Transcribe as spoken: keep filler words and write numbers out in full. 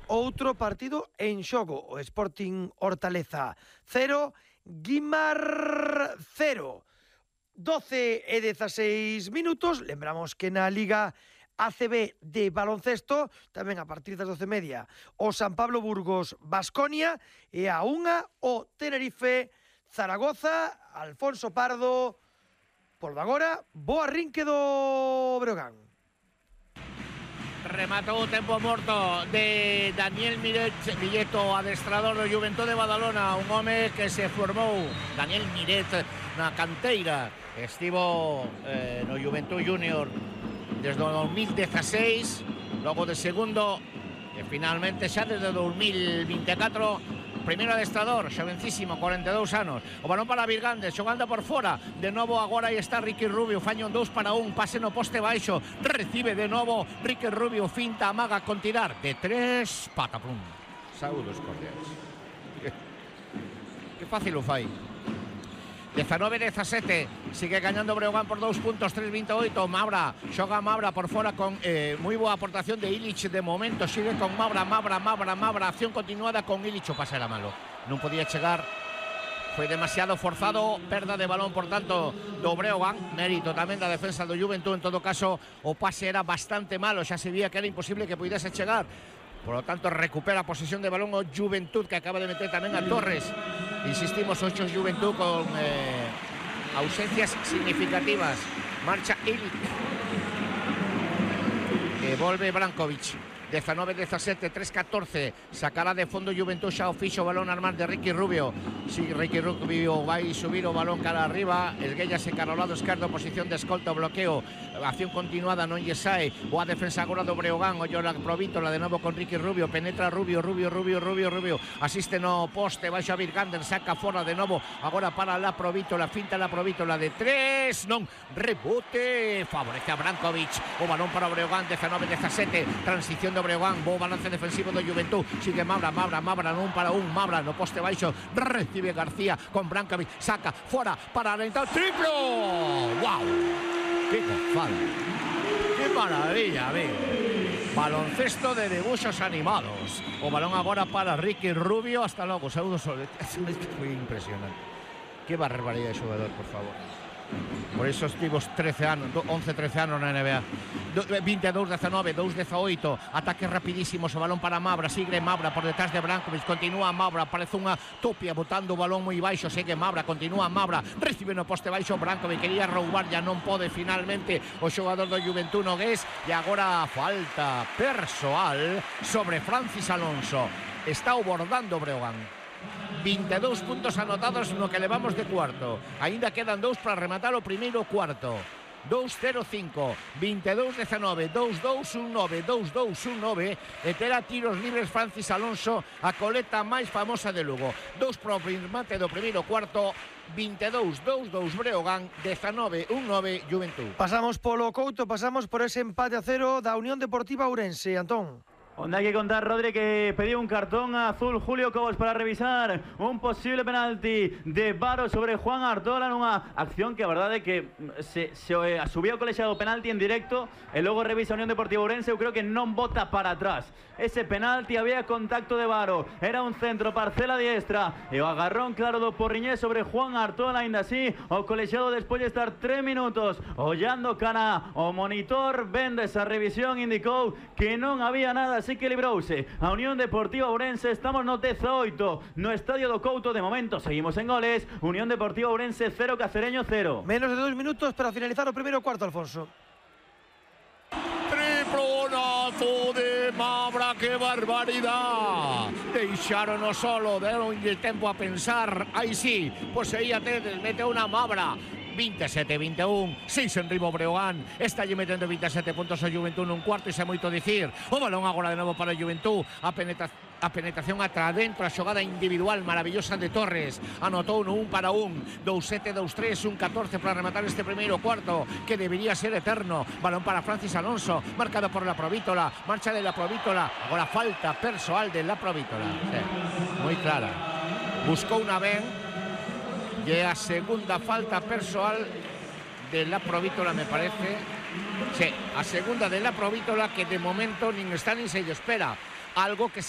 outro partido en xogo. O Sporting Hortaleza cero, Guimar cero. doce e dezaseis minutos. Lembramos que na Liga A C B de baloncesto, tamén a partir das doce e media, o San Pablo Burgos Baskonia, e a unha o Tenerife Zaragoza. Alfonso Pardo, por agora, boa arrinque do Breogán. Rematou o tempo morto de Daniel Miret, Milleto, adestrador do Juventud de Badalona, un home que se formou, Daniel Miret, na canteira. Estivo eh, no Juventud Junior desde o dos mil dieciséis, logo de segundo, e finalmente xa desde o dos mil veinticuatro, primeiro adestrador, xovencísimo, cuarenta e dous anos. O balón para Virgandes, xogando por fora. De novo agora aí está Ricky Rubio, faño un dous para un, pase no poste baixo. Recibe de novo Ricky Rubio, finta, amaga con tirar. De tres, patapum. Saúdos cordiais. Que, que fácil o fai. diecinueve dezasete, sigue gañando Breogán por dous puntos, tres veintiocho. Mabra, xoga Mabra por fora con eh, moi boa aportación de Ilic de momento. Sigue con Mabra, Mabra, Mabra, Mabra. Acción continuada con Ilic. O pase era malo, non podía chegar, foi demasiado forzado. Perda de balón, por tanto, do Breogán. Mérito tamén da defensa do Juventud. En todo caso, o pase era bastante malo, xa se vía que era imposible que pudiese chegar. Por lo tanto, recupera a posesión de balón o Juventud, que acaba de meter tamén a Torres. Insistimos, ocho Juventud con eh, ausencias significativas. Marcha Ilic. E volve Brankovic. diecinueve dezasete, tres catorce. Sacará de fondo Juventud, xa o fixo, balón armar de Ricky Rubio. Si Ricky Rubio vai subir o balón cara arriba, esguéllase cara ao lado esquerdo, posición de escolta, bloqueo, acción continuada, non lle sae. Boa defensa agora do Breogán, ollo la Provítola de novo con Ricky Rubio, penetra Rubio, Rubio, Rubio, Rubio, Rubio, asiste no poste, baixa a Virgander, saca fora de novo, agora para la Provítola, finta la Provítola de tres, non, rebote, favorece a Brankovic, o balón para o Breogán, diecinueve dezasete, transición do Breogán, bo balance defensivo do Juventud, sigue Mabra, Mabra, Mabra, non para un, Mabra no poste baixo, recibe García con Brankovic, saca fora para alentar, triplo, wow, que gozada, que maravilla, amigo. Baloncesto de debuxos animados. O balón agora para Ricky Rubio, hasta logo, saúdos, foi impresionante. Que barbaridade de xogador, por favor. Por esos tivos trece anos, once trece anos na N B A. veintidós diecinueve, dous dezaoito. Ataques rapidísimos, o balón para Mabra. Sigue Mabra por detrás de Brankovic. Continúa Mabra, parece unha topia botando o balón moi baixo. Segue Mabra, continúa Mabra. Recibe no poste baixo Brankovic. Quería roubar, ya non pode finalmente o xogador do Juventud Nogués. E agora falta persoal sobre Francis Alonso. Está abordando Breogán. veintidós puntos anotados no que levamos de cuarto. Ainda quedan dous para rematar o primeiro cuarto. dous cero cinco, veintidós diecinueve, dous dous un nove, dous dous un nove. E terá tiros libres Francis Alonso, a coleta máis famosa de Lugo. Dous para o remate do primeiro cuarto. veintidós dous dous Breogán, diecinueve un nove Juventud. Pasamos polo Couto, pasamos por ese empate a cero da Unión Deportiva Ourense, Antón. Onde hai que contar, Rodri, que pediu un cartón azul Julio Cobos para revisar un posible penalti de Varo sobre Juan Artola nunha acción que a verdade é que se, se subiu o colexiado penalti en directo e logo revisa a Unión Deportiva Ourense. Eu creo que non bota para atrás ese penalti, había contacto de Varo, era un centro, parcela diestra e o agarrón claro do Porriñés sobre Juan Artola. Ainda así, o colexiado despois de estar tres minutos ollando cara o monitor, vendo esa revisión, indicou que non había nada. Así que librouse a Unión Deportiva Ourense. Estamos no dezaoito no Estadio do Couto. De momento seguimos en goles. Unión Deportiva Ourense cero, Cacereño cero. Menos de dos minutos para finalizar o primeiro cuarto, Alfonso. Triplonazo de Mabra, que barbaridad. Deixarono solo, deronlle tempo a pensar. Aí sí, pois aí até mete unha Mabra. veintisiete veintiuno, seis en ribo Breogán. Está lle metendo veintisiete puntos a Juventud nun cuarto, e xa moito dicir. O balón agora de novo para a Juventud. A, penetra a penetración atra dentro, a xogada individual maravillosa de Torres. Anotou no un para un. dous sete, dous tres, un catorce para rematar este primeiro cuarto, que debería ser eterno. Balón para Francis Alonso, marcado por la Provítola. Marcha de la Provítola. Agora falta persoal de la Provítola. Sí, moi clara. Buscou unha ben. E a segunda falta persoal de la Provítola, me parece. Sí, a segunda de la Provítola, que de momento nin está nin se lle espera. Algo que se